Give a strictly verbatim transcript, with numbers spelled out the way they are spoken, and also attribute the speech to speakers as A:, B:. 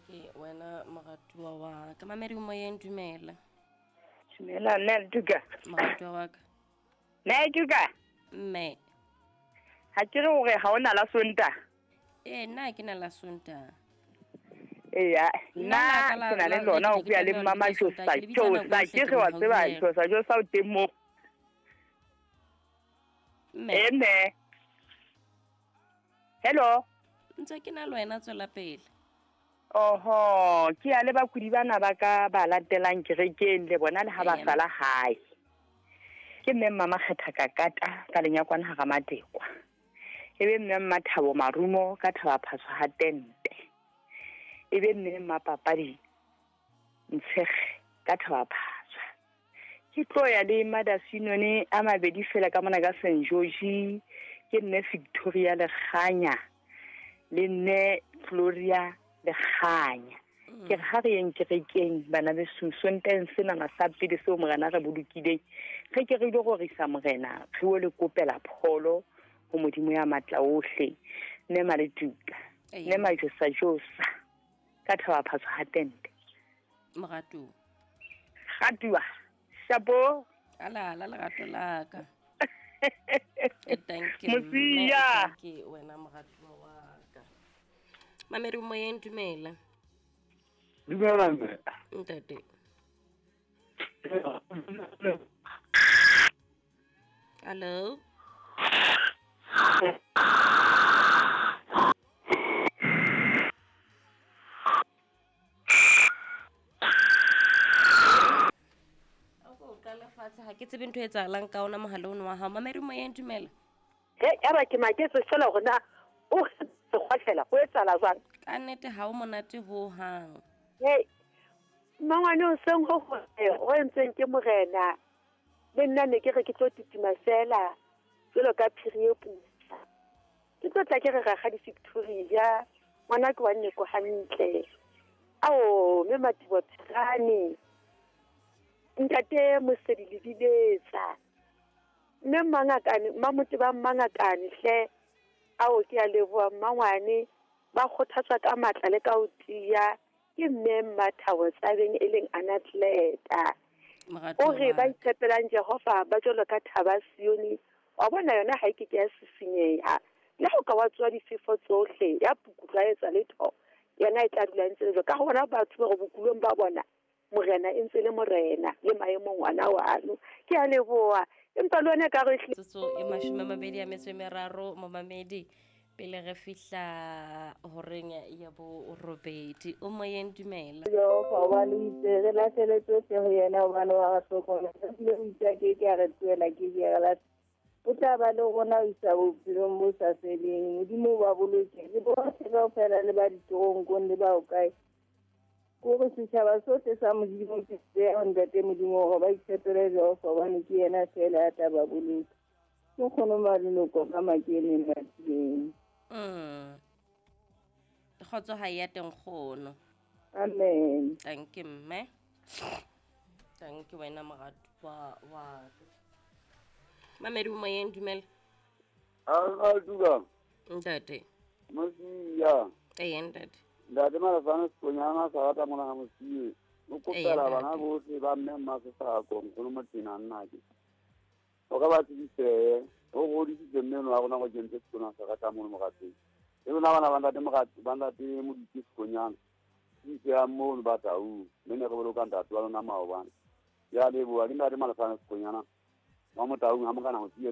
A: Thank you wena moratuwa wa ka. Mamedi moyeng, dumela.
B: Dumela nna Letuka.
A: Moratuwa wa ka.
B: Nna Letuka.
A: Mme.
B: Ha ke re hore ha ona la Sonta.
A: Eh nna ke na la Sonta.
B: Eya, nna ke na le lona ho bua le mama Josa. Josa ke re wa tseba Josa Josa o teng mo.
A: Mme.
B: Eh mme. Hello.
A: Ntse ke na le wena, tswela pele.
B: Oho, ke a le bakudi bana ba ka ba latelang kerekeng le bona le ha ba sala hae. Ke mme mama Kgetha Kakata ka lenyakwana hara Matekwa. E be mme mma Thabo Marumo ka Thaba Phaso ha tente. E be mme mma Papadi Ntshege ka Thaba Phaso. Ke tlo ya le Madasinone a mabedi fela ka mona ka Saint George, ke nne Victoria Lekganya le nne Gloria Lekganya. Ke re ha re yeng kerekeng bana beso, Sonteng sena sa pele seo morena re bolokileng, re ke re ile go risa morena, re o le kopela pholo ho Modimo ya matla ohle. Mme Maletuka, mme Majosa Josa ka Thaba Phaso ha tente.
A: Moratuwa.
B: Ratuwa. Shapo.
A: Ala la lerato la ka. E thank you.
B: Mosia.
A: Thank you wena moratuwa wa ka. Mamedi moyeng, dumela.
C: Dumela mme.
A: Ntate. Hello. Ha ke tsebe ntho e etsahalang ka ona mohala ono wa hao. Mamedi moyeng, dumela.
D: He, ya ba ke maketse fela hore na o sekgwahlela ho etsahala jwang.
A: Ka nnete ha o monate ho hang.
D: Hey, mangwane o seng ho ho entseng ke morena. Le nna ne ke re ke tlo titima fela jwalo ka phiri e putswa. Ke tlo tla ke re rakgadi Victoria, ngwana ke wa nne ko hantle. Ao, mme Matibo Phirane. Ntate Mosedi Lebiletsa. Mme Mangakane, Mmamote ba Mangakane hle. Ao ke a leboha mmangwane, ba kgothatswa ka matla le ka ho tiya ke mme Mmathabo Tsabeng e leng anatleta. O re ba itshepelang Jehova ba jwalo ka thaba Sione, wa bona yona ha e ke ke ya sisinyeha. Le ha o ka wa tswa difefo tsohle ya pukutlwa etsa letho, yona e tla dula ntse le jwalo. Ka hona batho ba re bokulong ba bona morena e ntse le morena le maemong ona wano. Ke a leboha. Empa le wena ka re
A: Tsotso e mashome a mabedi a metso e meraro momamedi pele re fihla horeng ya bo robedi. O moyeng, dumela.
E: Jehova hobane o itse re lahlele tsohle ho yena hobane wa re hlokomela. Ebile o itse a ke ke a re tlohela, ke ke a re lahlela. O tla ba le rona ho isa bophelong bo sa feleng. Modimo o ba boloke le bohle kaofela le ba ditoronkong le ba hokae. Kore setjhaba sohle sa Modimo ke se ntate Modimo hore ba itshepele Jehova hobane ke yena feela ya tla ba boloka. Ke kgono maloko ka makeneng matileng.
A: Mm. Kgotso ha ya teng kgono.
E: Amen.
A: Thank you mme. Thank you wena moratuwa wa ka. Mamedi moyeng, dumela.
C: A duga.
A: Ntate.
C: Mosia.
A: Eh ntate.
C: Ntate Malefane Sekonyana sa rata mona ha Mosie. O kopela bana bohle ba mme Mmasesako nkgono Motsena nnake. O ka ba tsebise, o godisitse mme wa rona go kentse sekolo sa rata mono moratseng. E lona bana ba ntate Moratsi, ba ntate Moditi Sekonyana. Tsebise ya mono ba Tau, mme ne re boloka ntate wa lona maobane. Ya leboha ke ntate Malefane Sekonyana. Wa Motaung ha mokana Mosie.